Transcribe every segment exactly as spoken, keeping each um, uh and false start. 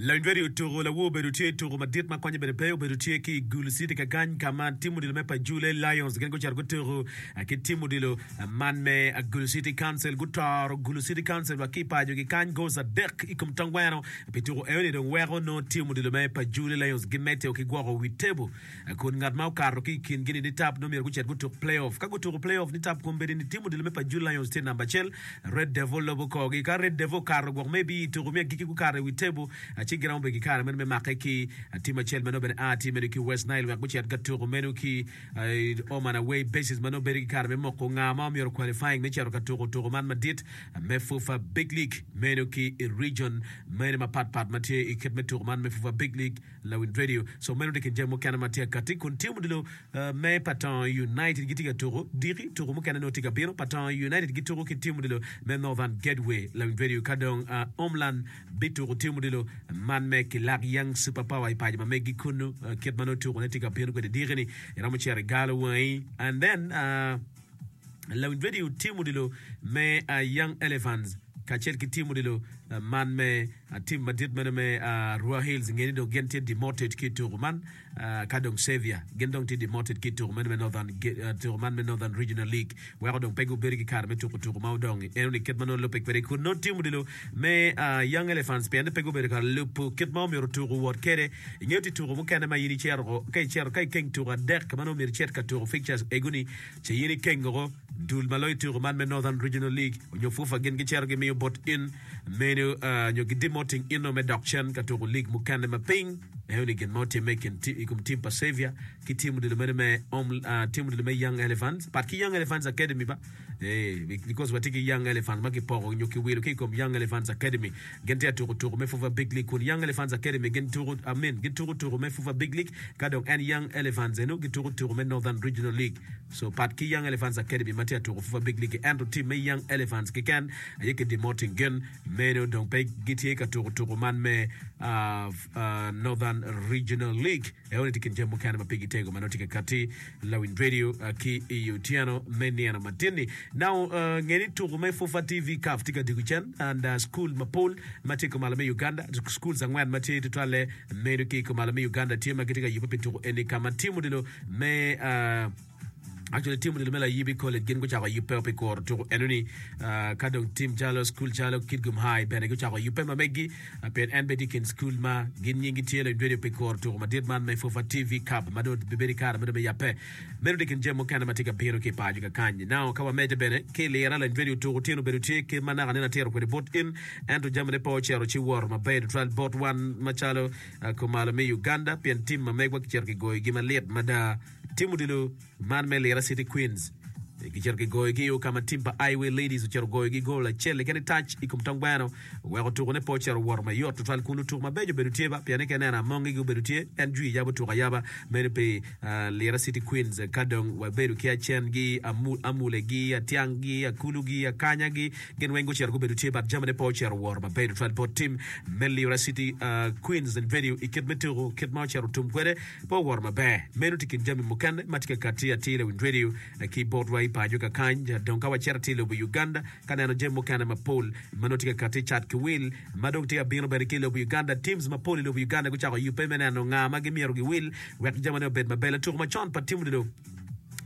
Lawiny radio tuko lawo obedo tye tuko madit ma konye bene pe obedo tye ki i Gulu City kakany ka ma tim odilo me Pajule Lions gin gucito gutuko ki tim odilo man me Gulu City Council gutoro Gulu City Council wa ki i pacogi kany goals adek i kom tongweno pi tuko enoni dong weko nongo tim odilo me Pajule Lions gimedde ki gwoko wi tebo kun ngat ma okato ki i kingi ni nitap nongo myero gucit gutuk play-off ka gutuko play-off nitap kombeddi ni tim odilo me Pajule Lions tye namba acel Red Devil lobo korgi ka Red Devil okato gwok maybe i tuko me agikki gukato i wi tebo ci giromo bedo ki kare meno me make ki tim acel ma nongo bene a tye meno ki West Nile wek gucit ka tuko meno ki home and away basis ma nongo bedo ki kare me moko nga ma myero qualifying me cito ka tuko tuko man madit me FUFA Big League meno ki i region meno mapat pat ma tye i kit me tuko man me FUFA Big League Lawiny Radio so meno tye kin jami mukene ma tye akati kun tim odilo me Patong United gitye ka tuko diki tuko mukene nongo tye ka bino Patong United gituko ki tim odilo me Northern Gateway Lawiny Radio ka dong Homeland bituko tim odilo man me Kilak Young Super Power i paco ma megi kunu kit ma nongo tukone tye ka bino kwede diki-ni iromo cito igalo wangi and then uh, Lawiny Radio tim odilo me uh, Young Elephants kacel ki tim odilo uh, man me uh, tim madit meno me uh, Arua Hills ngeni dong gin tye demoted ki i tuko man uh, ka dong Xavier gin dong tye demoted ki i tuko meno me Northern uh, tuko man me Northern Regional League weko dong pe gubedo ki kare me tuko tuko ma odong eno ni kit ma nongo lubbe kwede kun nongo tim odilo me uh, Young Elephants pien pe gubedo ka lubo kit ma omyero tuko wot kwede ingeyo ti tuko mukene ma in icito ka icito ka ikeng tuko adek ma nongo myero icit ka tuko fixtures egoni ce in ikengo dul ma loyo tuko man me Northern Regional League onyo FUFA gin gicito gimiyo bot in meno uh, nyo gidemoting ino me dok cen ka tuko league mukene ma piny eno ni gin ma otimme i kin i kom tim pa Xavier ki tim odilo meno me Om, uh, tim odilo me Young Elephants pat ki Young Elephants Academy ba eh, because watye ki Young Elephants ma kipoko nyo kiwilo ki i kom Young Elephants Academy gin tye tuko tuko me FUFA Big League kun Young Elephants Academy gin tuko I mean, gin tuko tuko me FUFA Big League ka dong en Young Elephants eno gituko tuko me Northern Regional League so pat ki Young Elephants Academy ma tye tuko FUFA Big League ento tim me Young Elephants keken aye ki demoting gin meno dong pe gitye ka tuko tuko man me uh, uh, Northern Regional League eno ni tye kin jami mukene ma pigi tego ma nongo tye ka kati Lawiny Radio uh, ki i otyeno me nino matin-ni now uh, ngeni tuko me FUFA TV Cup tye ka diko cen and uh, school mapol ma tye kumalo me Uganda schools angwen ma tye tutwalle meno ki kumalo me Uganda tye ma gitye ka yubbe pi tuko eni ka ma tim odilo me uh, Actually, tim odilo me Layibi College gin gucako yubbe pi kuro tuko enoni uh, ka dong tim calo school calo Kitgum High bene gucako yubbe ma megi uh, pien en bene tye i kin school ma gin nyingi tye Lawiny Radio pi kuro tuko madit man me FUFA TV Cup ma dong bibedo i kare ma dong me yabbe meno tye kin jami mukene ma tye ka bino ki i paco kakany now ka wamedde bene ki i lira Lawiny Radio tuko tyen obedo tye kit ma naka nene atiro kwede bot in ento jamine pe ocito ci woto maber tutwal bot wan macalo uh, kumalo me Uganda pien tim ma megwa kicito kigoyogi malit mada tim odilo man me Lira City Queens gicito kigoyogi ka ma tim pa Highway Ladies ocito goyogi gol acel keken i tac i kom tongweno weko tukone pe ocito woto mayot tutwal kun lutuko mabeco obedo tye ba pien ka ineno amongi obedo tye en jwi yabo tuko ayaba meno pi uh, Lira City Queens ka dong wabedo ki acengi amu, amulegi atianggi akulugi akanyagi gin weng gucito gubedo tye but jamine pe ocito woto maber tutwal bot tim me Lira City uh, Queens and video i kit me tuko kit ma ocito tum kwede pe owoto maber meno tye kin jami mukene ma tye ka kati atir i radio ki botwa i paco kakany dong ka wacito atir i lobo Uganda ka neno jami mukene mapol ma nongo tye ka kati cat ki wil ma dong tye ka bino bene ki i lobo Uganda teams mapol i lobo Uganda gucako yubbe me neno nga ma gimyero giwil wek jamine obed maber latuko macon pa tim odilo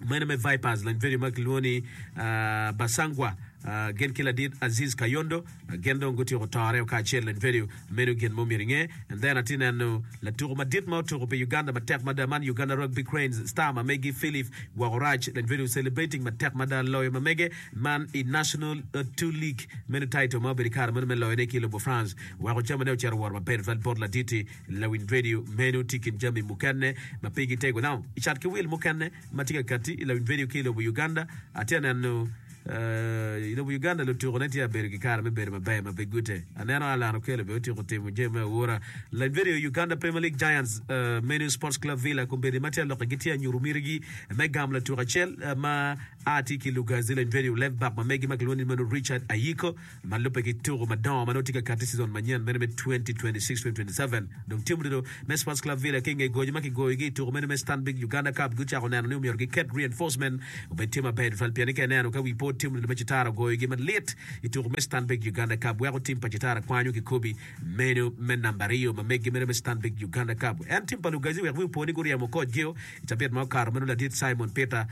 meno me Vipers lany video ma kilwongo ni uh, Basangwa uh, gin ki ladit Aziz Kayondo uh, gin dong gutyeko tore kacel lany video meno gin mo myero inge and then atye neno latuko madit ma otuko pi Uganda matek mada man Uganda Rugby Cranes star ma megi Philip Wokorach lany video celebrating matek mada loyo ma mege man i National uh, Two League meno title ma obedo i kare meno me loyone ki i lobo France weko jamine ocito woro maber tutwal bot laditi Lawiny Radio meno tye kin jami mukene ma pigi tego now i cat ki wil mukene ma tye ka kati i Lawiny Radio ki i lobo Uganda atye neno Uh, i lobo Uganda lutukone tye abedo ki kare me bedo maber ma pe gute aneno Alan Okello be otyeko timo jami me aura Lawiny Radio Uganda Premier League Giants uh, menu Sports Club Villa kombeddi ma tye alokke gitye anyuto mitigi me gamo latuko acel uh, ma a tye ki Lugazi Lawiny Radio left back ma megi ma kilwongo ni meno Richard Ayiko ma lubbe ki tuko madongo ma nongo tye ka kati season manyen meno me twenty twenty-six twenty twenty-seven dong tim odilo me Sports Club Villa ki i nge gojo ma kigoyogi i tuko meno me Stanbic Uganda Cup gucako neno ni omyero giket reinforcement obed tye maber tutwal pien ni ka ineno ka wi po bot tim odilo me Kitara ogoyogi malit i tuko me Stanbic Uganda Cup weko tim pa Kitara kwanyo kikobi meno me namba aryo ma meggi meno me Stanbic Uganda Cup. En tim pa Lugazi wek wi opo ni guryemo kocgio i cabit ma okato meno ladit Simon Peter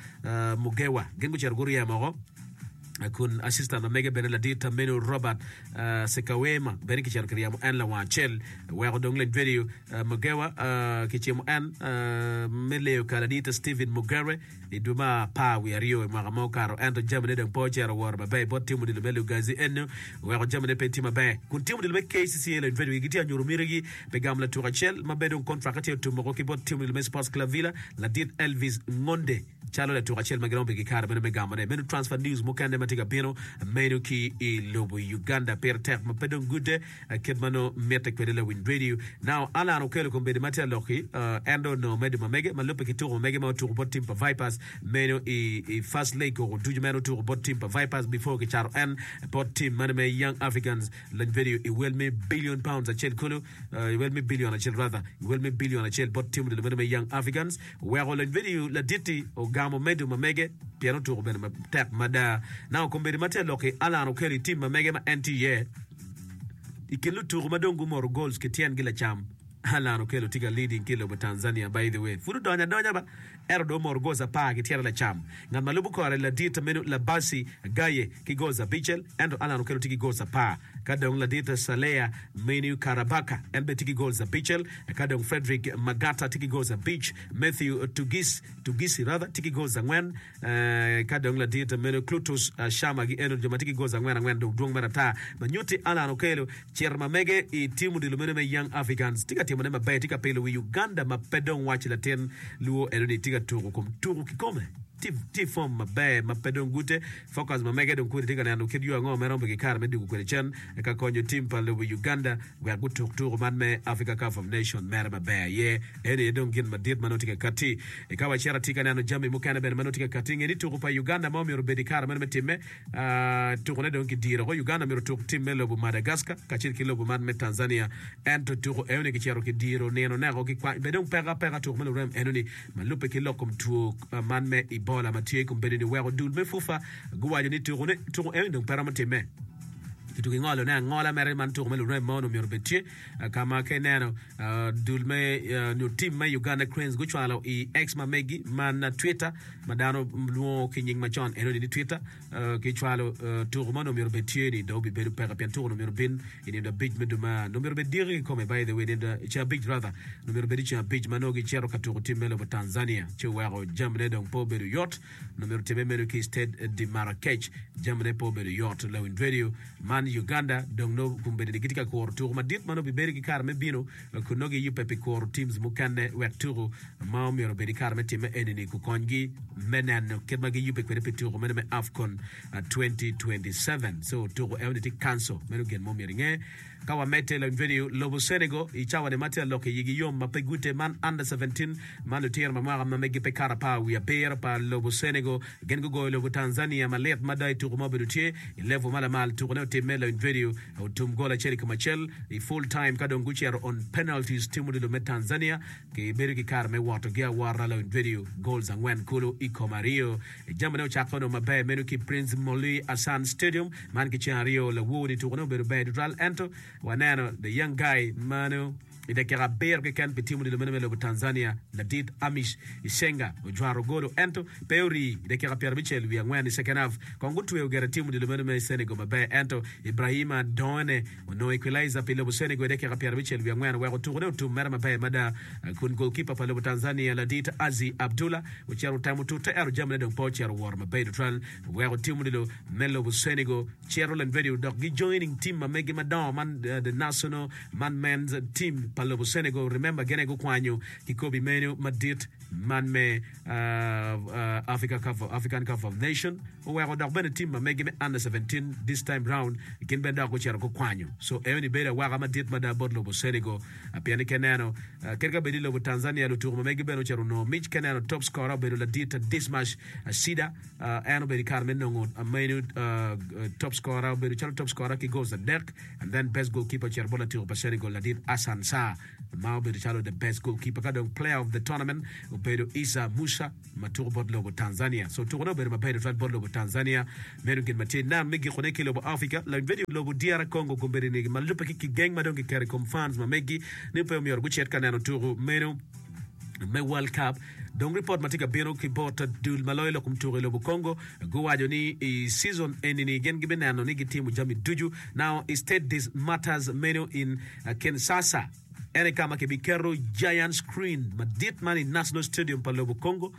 Mugewa gin gucito guryemo oko kun assistant ma mege bene ladit meno Robert Sekawema bene kicito kiryemo en lawang acel weko dong Lendredio Mugewa kicimo en me leyo ka ladit Stephen Mugere i dwe me apar wiye aryo i mwaka ma okato ento jamine dong pe ocito woro maber bot tim odilo me Lugazi eno oweko jamine pe tye maber kun tim odilo me K C C A Lendredio gitye ka nyuto mitigi pi gamo latuk acel ma bene dong kontrak tye otum woko ki bot tim odilo me Sports Club Villa ladit Elvis Ngonde calo latuk acel ma giromo bedo ki kare meno me gamone. Meno transfer news mukene ma tye ka bino meno ki i lobo Uganda. Pire tek ma pe dong gude kit ma nongo mitte kwede lawiny radio. Now Allan Okello kombeddi ma tye alok-ki en dong onongo medo ma mege ma lubbe ki tuko ma mege ma otuko bot team pa Vipers meno i i first leg koko ducu ma en otuko bot team pa Vipers before kicato en bot team meno me Young Africans lony video i wel me billion pounds acel kulu i wel me billion acel rather i wel me billion acel bot team odilo meno me Young Africans. Oweko lony vidio ladit-ti ogamo medo ma mege pien otuko bene matek mada. Naka kombeddi ma tye lok-ki, Allan okelo i tim ma mege ma en tye iye. I kin lutuku ma dong gumoto goals ki tyengi lacam, Allan Okello tye ka leading ki i lobo Tanzania. By the way, pud odonyo adonya ba, ento dong omoto goals apar ki tyene lacam. Ngat ma lubo kore ladit meno Labasi Gaye ki goals abicel, ento Allan Okello tye ki goals apar. Ka dong ladit Salea Menu Karabaka en bene tye ki goals abicel, ka dong Fredrick Magata tye ki goals abic, Matthew Tugis, Tugisi rather, tye ki goals angwen, ka dong ladit meno Clutus Shama gi eno jo ma tye ki goals angwen angwen dong dwong mere ata ma nyutti Allan Okello cito ma mege i tim odilo meno me Young Africans tye ka timone maber tye ka pilo wi Uganda ma pe dong waci latin luo eno ni tye ka tuko kom tuko kikome. Tye i fom maber ma pe dong gute. Focus ma mege dong kodi tye ka neno kit yo ango ma eromo ki kare me dwogo kwede cen ka konyo tim pa lobo Uganda wek gutuk tuko man me Africa Cup of Nation mere maber aye. Eni aye dong gin madit ma nongo tye ka kati. I ka wacito atye ka neno jami mukene bene ma nongo tye ka kati. Nge ni tuko pa Uganda ma omyero obed i kare meno me timme Tukone dong kidiro oko. Uganda myero otuk tim me lobo Madagascar kacel ki lobo man me Tanzania. Ento tuko enoni kicito kidiro nino neko ki kwany. Bed dong peko apeka tuko me lurem enoni ma lubbe ki lok kom two man me Ebola ma tye kombeddi ni weko dul me FUFA guwaco ni tuko ne tuko enoni dong pe romo timme. Kituko ingolo ne angola mere man tuko me lurem ma onongo myero obed tye ka ma ka ineno dul me nyo tim me Uganda Cranes gucwalo i X ma megi man Twitter ma dano lwongo ki nying macon enoni ni Twitter kicwalo tuko ma onongo myero obed tye ni dong obibedo peke pien tuko onongo myero obin i nindo abic me dwe ma onongo myero obed diki kikome by the way nindo ceng abic rather onongo myero obed i ceng abic ma nongo gicito ka tuko tim me lobo Tanzania ci oweko jamine dong pe obedo yot onongo myero otimme meno ki i Stade de Marrakech jamine pe obedo yot lawiny radio man Uganda dong nongo kombeddi ni gitye ka kuro tuko madit ma nongo bibedo ki kare me bino kun nongo giyubbe pi kuro teams mukene wek tuko ma omyero obed i kare me timme eni-ni gukonygi me neno kit ma giyubbe kwede pi tuko meno me AFCON twenty twenty-seven. So tuko eno-ni tye cancel. Meno gin mo myero inge. Ka wamedde lony vedio, lobo Senegal i cawa-ni ma tye alok i yigi yom ma pe gute man under seventeen ma lutino ma mwaka ma megi pe kato apar wiye abiro pa lobo Senegal gin gugoyo lobo Tanzania malit mada i tuko ma obedo tye i level ma lamal. Tukone otimme lony vedio otum gol acel i kom acel i full time ka dong gucito on penalties tim odilo me Tanzania Gibedo ki kare me wotogi awota lawiny vedio goals angwen kulu i kom aryo. Jamine ocakke onongo maber meno ki Prince Moulay Hassan Stadium man ki ceng aryo lawor-ni tukone obedo ber tutwal ento waneno the young guy mano i dakika abiro keken pi tim odilo meno me lobo Tanzania ladit Amish Isenga ojwaro golo ento pe ori i dakika pyerabicel wiye angwen i second half kong gutweyo gire tim odilo meno me Senegal maber ento Ibrahima Doene Onongo equalizer pi lobo Senegal i dakika pyerabicel wiye angwen oweko tukone otum mere maber mada kun goalkeeper pa lobo Tanzania ladit Azzi Abdullah ocito otemo tute ento jamine dong pe ocito woro maber tutwal oweko tim odilo me lobo Senegal cito Lenvedio dok gi joining team ma megi madongo man the national man men's team pa lobo Senegal remember gin aye gukwanyo kikobi meno madit man me Africa Cup of, African Cup of Nation oweko dok bene team ma megi me under seventeen this time round gin bene dok gucito gukwanyo so enoni bedo awaka madit mada bot lobo Senegal pien ni ka ineno kadi ka bed i lobo Tanzania lutuku ma megi bene ocito onongo mic ka ineno top scorer obedo ladit Dismas Shida en obedo i kare me nongo menu top scorer obedo calo top scorer ki goals adek and then best goalkeeper ocito bot latuku pa Senegal ladit Hassan Sarr. Qatar ma obedo calo the best goalkeeper ka dong player of the tournament obedo Issa Musa ma tuko bot lobo Tanzania. So tukone obedo maber tutwal bot lobo Tanzania. Meno gin ma tye nam me gikone ki lobo Africa. Lawiny vedio lobo D R Congo kombeddi ni ma lubbe ki kigeng ma dong kiketo i kom fans ma megi ni pe omyero gucit ka neno tuko meno me World Cup. Dong ripot ma tye ka bino ki bot dul ma loyo lok kom tuko i lobo Congo guwaco ni i season eni-ni gin gibineno ni gitimo jami ducu. Now i Stade des Martyrs meno in Kinshasa en aye ka ma kibiketo giant screen madit man i National Stadium pa lobo Congo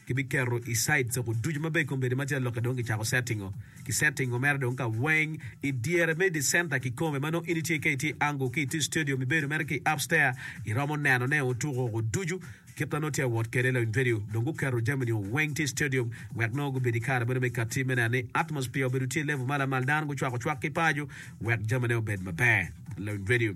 kibiketo i sides oko ducu ma bene kombeddi macalo lokke dong kicako settingo ki settingo mere dong ka weng i dyere me the center kikome ma nongo in itye ka itye i angle ki itye i stadium ibedo mere ki upstair iromo neno ne otuko oko ducu kit ma nongo tye awot kwede lawiny vedio dong guketo jami ni weng tye i stadium wek nongo gubed i kare meno me kati me neno ni atmosphere obedo tye i level ma lamal dano gucwako cwak ki paco wek jamine obed maber lawiny vedio.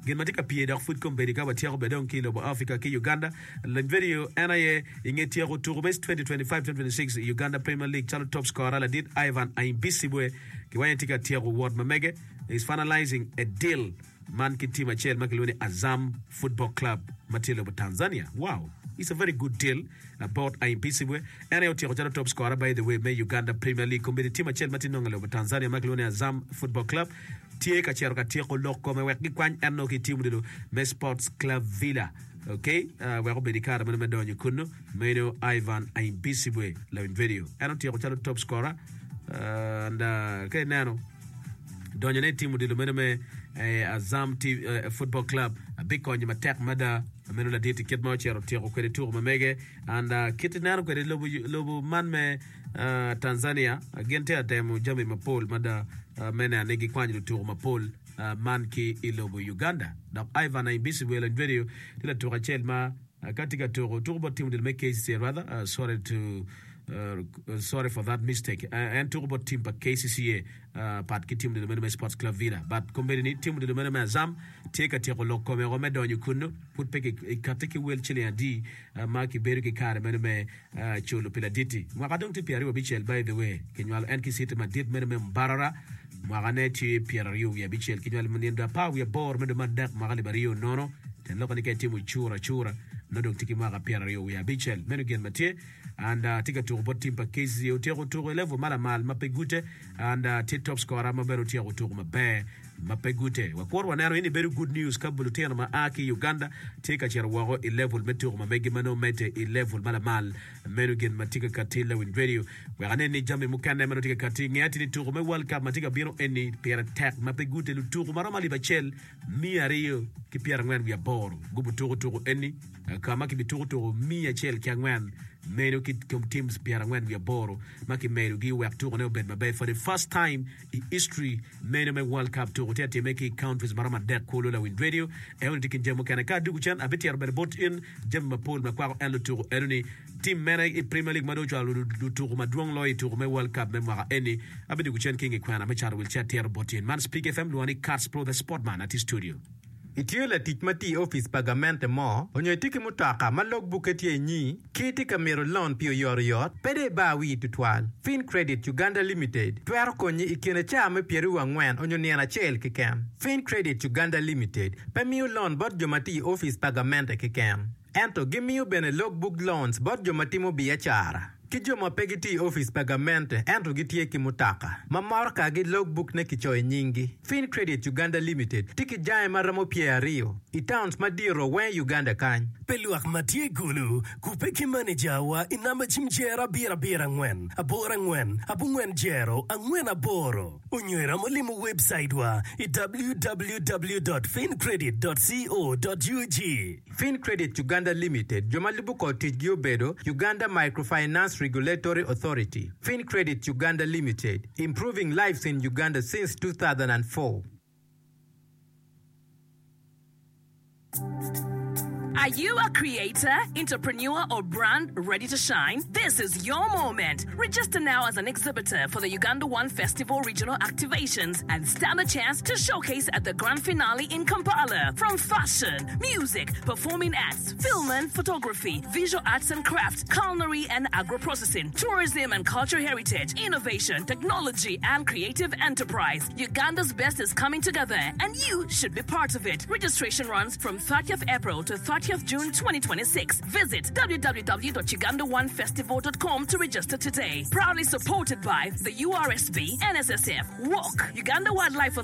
Gin ma tye ka pye dok pud kombeddi ka watyeko bene dong ki i lobo Africa ki Uganda, lony vedio en aye i nge tyeko tuko me twenty twenty-five twenty twenty-six i Uganda Premier League calo top scorer ladit Ivan Ahimbisibwe kiwaco ni tye ka tyeko wot ma mege is finalizing a deal man ki team acel ma kilwongo ni Azam Football Club ma tye i lobo Tanzania. Wow! It's a very good deal bot Ahimbisibwe. En aye otyeko calo top scorer by the way me Uganda Premier League. Kombeddi team acel ma tye nongo i lobo Tanzania ma kilwongo ni Azam Football Club tye ka cito ka tyeko lok kome wek gikwany en nongo ki i tim odilo me Sports Club Villa. Ok, uh, wek obed i kare meno me donyo kunnu. Meno Ivan Ahimbisibwe lawiny vedio. En otyeko calo top scorer uh, and uh, ka ineno donyone i tim odilo meno me eh, Azam T eh, Football Club bikonyo matek mada meno ladit i kit ma ocito otyeko kwede tuko ma mege and uh, kit ineno kwede lobo, lobo man me uh, Tanzania gin tye atemo jami mapol mada uh, me neno ni gikwanyo lutuko mapol uh, man ki i lobo Uganda. Dok Ivan Ahimbisibwe lony vedio tye latuko acel ma uh, ka tye ka tuko tuko bot tim odilo me K C C A rather uh, sorry to uh, sorry for that mistake uh, en tuko bot tim pa K C C A uh, pat ki tim odilo meno me Sports Club Villa but kombeddi ni tim odilo meno me Azam tye ka tyeko lok kome oko me donyo kunnu pud pe kikati ki wel ciling adi uh, ma kibedo ki kare meno me uh, culo pi laditi mwaka dong tye pyeraryo abicel. By the way, kinywalo en ki city madit meno me Mbarara. Mwaka ne tye pyeraryo wiye abicel, kinywalo nindo apar wiye aboro me dwe me adek mwaka alip aryo nono. Tyen lok ni ka itimo cura acura nongo dong tye ki mwaka pyeraryo wiye abicel. Meno gin ma tye and uh, tye ka tuko bot tim pa K C C A. Otyeko tuko i level ma lamal ma pe gute and uh, tye top scorer ma bene otyeko tuko maber ma pe gute. Wakwor waneno in ibedo good news ka lutino ma a ki Uganda tye ka cito woko i level me tuko ma megi ma nongo medde i level ma lamal. Meno gin ma tye ka kati lawiny radio wek anen ni jami mukene ma nongo tye ka kati nge ati ni tuko me World Cup ma tye ka bino eni pire tek ma pe gute. Lutuko ma romo alip acel miya aryo ki pyerangwen wiye aboro gubu tuko tuko eni ka ma kibituko tuko miya acel ki angwen meno ki kom teams pyerangwen wiye aboro ma kimedogi wek tukone obed maber for the first time i history meno me World Cup. Tuko tye atime ki countries ma romo adek kulu. Lawiny radio eno tye kin jami mukene ka adugu cen abitiro bene bot in jami mapol ma kwako en lutuko eno ni tim mene i Premier League ma dong ocwalo lutuko madwong loyo i tuko me World Cup me mwaka eni. Abidugu cen ki nge kwena me cato wil ci atiro bot in. Man Speak F M lwongo ni Cats Pro the Sportman ati studio. Itye latic ma tye i opic pa gamente mo onyo itye ki mutoka ma logbukke tye inyi ki itye ka mito lon pi oyotoyot, pe dong ibar wii tutwal. Fin Credit Uganda Limited twero konyi i kine caa me pyeraryo angwen onyo nino acel keken. Fin Credit Uganda Limited pe miyo lon bot jo ma tye i opic pa gamente keken, ento gimiyo bene logbook loans bot jo ma timo biacara ki jo ma pe gitye i opic pa gamente ento gitye ki mutoka ma motokagi logbook ne kicoyo i nyinggi. Fin Credit Uganda Limited tye ki jange ma romo pyeraryo i towns madito weng i Uganda kany. Pe lwak ma tye i Gulu, kubbe ki manejawa i namba cim jero abiro abiro angwen aboro angwen abongwen jero angwen aboro onyo iromo limo webcaitwa i W W W dot fincredit dot co dot U G. Fin Credit Uganda Limited jo ma lubo kor ticgi obedo Uganda Microfinance Regulatory Authority. Fin Credit Uganda Limited, improving lives in Uganda since two thousand four. Are you a creator, entrepreneur, or brand ready to shine? This is your moment. Register now as an exhibitor for the Uganda One Festival regional activations and stand a chance to showcase at the grand finale in Kampala. From fashion, music, performing arts, film and photography, visual arts and crafts, culinary and agro-processing, tourism and cultural heritage, innovation, technology, and creative enterprise. Uganda's best is coming together, and you should be part of it. Registration runs from thirtieth April to thirtieth June twenty twenty-six. Visit w w w dot ugandaonefestival dot com to register today. Proudly supported by the U R S B, N S S F, WALK, Uganda Wildlife